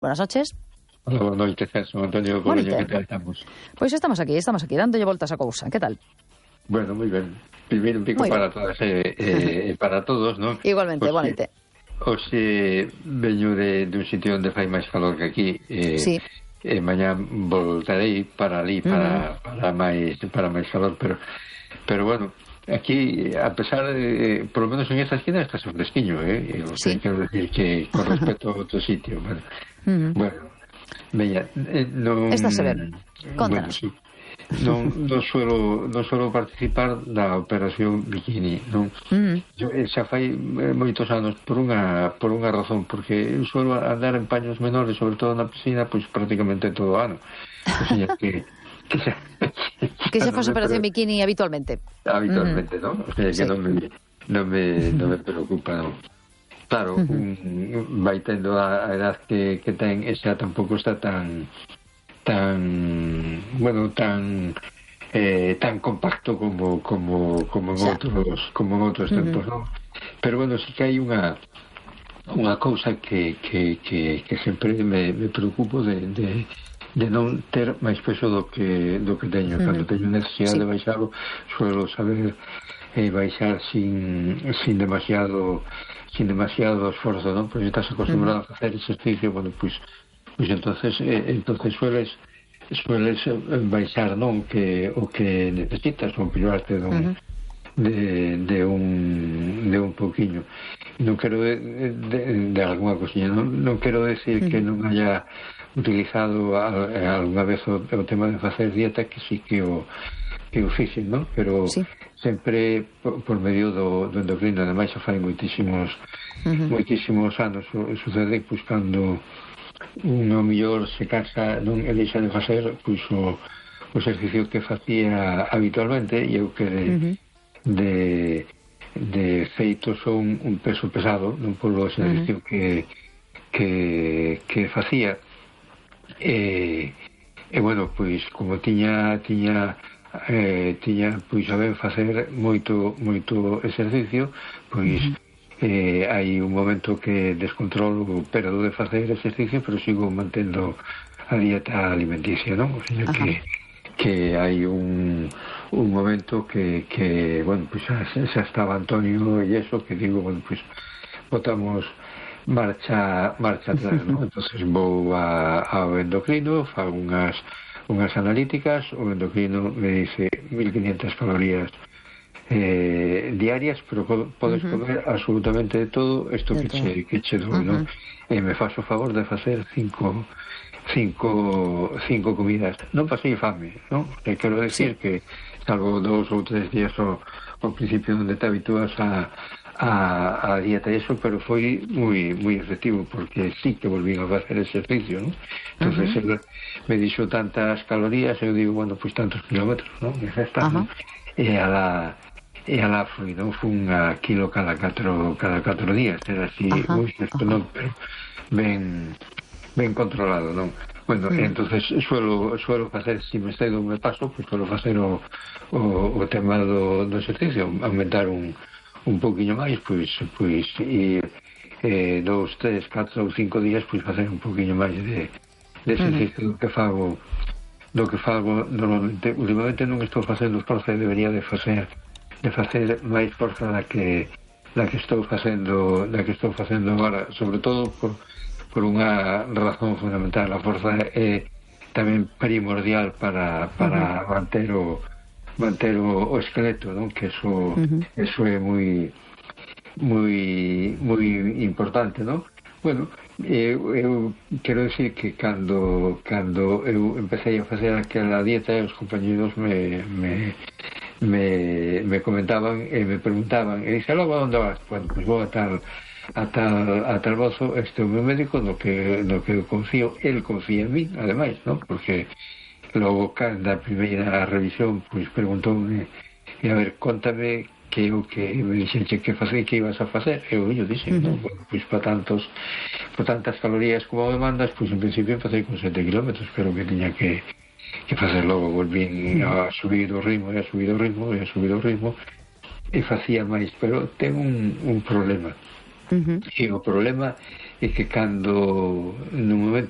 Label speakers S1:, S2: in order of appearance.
S1: Buenas noches.
S2: Hola, boa noite, Celso Antonio Coveño, que tal estamos?
S1: Pois estamos aquí, dándolle voltas a cousa. Que tal?
S2: Bueno, moi ben. Primeiro un pico para todas e para todos, non?
S1: Igualmente, boa noite.
S2: Hoxe veño dun sitio onde fai máis calor que aquí.
S1: Sí.
S2: E mañá voltarei para ali, para máis calor, pero bueno, aquí, a pesar de, por lo menos en esta esquina está fresquiño,
S1: Sí.
S2: Quero decir que con respecto a outro sitio, bueno, veña, non...
S1: Estás a ver, contanos.
S2: Bueno, sí. Non suelo participar da operación Bikini, non? Yo, xa fai moitos anos por unha razón, porque eu suelo andar en paños menores, sobre todo na piscina, pois prácticamente todo o ano. O sea, que
S1: se fose operación Bikini habitualmente.
S2: Habitualmente, non? O sea, que non me preocupa, non? Claro, vai tendo a edad que ten, e xa tampouco está tan compacto como en outros tempos, non? Pero bueno, sí que hai unha cousa que sempre me preocupo de non ter máis peso do que teño. Cando teño necesidade de baixarlo, suelo saber baixar sin demasiado esforzo, non? Porque estás acostumbrado a facer exercicio, bueno, pois entonces sueles baixar, non, o que necesitas, ou pillarte de un pouquiño. Non quero de alguna cosilla, non quero decir que non haya utilizado alguna vez o tema de facer dieta, que sí que o fixen, non? Pero sempre por medio do endocrino. Ademais, xa fai moitísimos anos sucede, pois, cando un mellor se cansa, non deixa de facer pois o exercicio que facía habitualmente, e eu que de feito son un peso pesado, non polo exercicio que facía, e bueno, pois como tiña pois a ben facer moito exercicio, pois hai un momento que descontrolo, pero de facer exercicio, pero sigo mantendo a dieta alimenticia, non? O sea, que hai un momento que bueno, pues xa estaba Antonio e eso, que digo, bueno, pues botamos marcha atrás, non? Entonces vou ao endocrino, fago unhas analíticas, o endocrino me dice 1500 calorías diarias, pero podes comer absolutamente de todo isto que che dou, non? E me faço o favor de facer cinco comidas. Non pasei fame, non? Quero decir que salvo 2 ou 3 días ao principio onde te habitúas a dieta e eso, pero foi moi efectivo, porque sí que volví a facer exercicio, non? Entonces me dixo tantas calorías, eu digo, bueno, pues tantos kilómetros, non? E xa está, non? E alá foi, non? Fun a kilo cada 4 días, era así, isto non, pero ben controlado, non? Bueno, entonces suelo facer, se me cedo me paso, pues suelo facer o tema do exercicio, aumentar un pouquiño máis, pois ir 2, 3, 4 ou 5 días, pois facer un pouquiño máis de exercicio do que fago normalmente. Últimamente non estou facendo esforzo, debería de facer máis forza da que estou facendo agora, sobre todo por unha razón fundamental. A forza é tamén primordial para manter o esqueleto, non? Que eso é moi importante, non? Bueno, eu quero decir que cando eu empecé a facer aquela dieta, os compañeros me comentaban e me preguntaban, e dixen, logo, onde vas? Bueno, pues vou a tal bozo, este é o meu médico no que eu confío, el confía en mí, ademais, non? Porque logo, da primeira revisión, pois preguntoume, e a ver, contame que eu que me dixenche que facer, que ibas a facer, eu dixen, non? Bueno, pois por tantas calorías como me mandas, pois en principio empecé con 7 kilómetros, pero que tiña que facer logo, volvín a subir o ritmo, e facía máis, pero ten un problema. E o problema e que cando no momento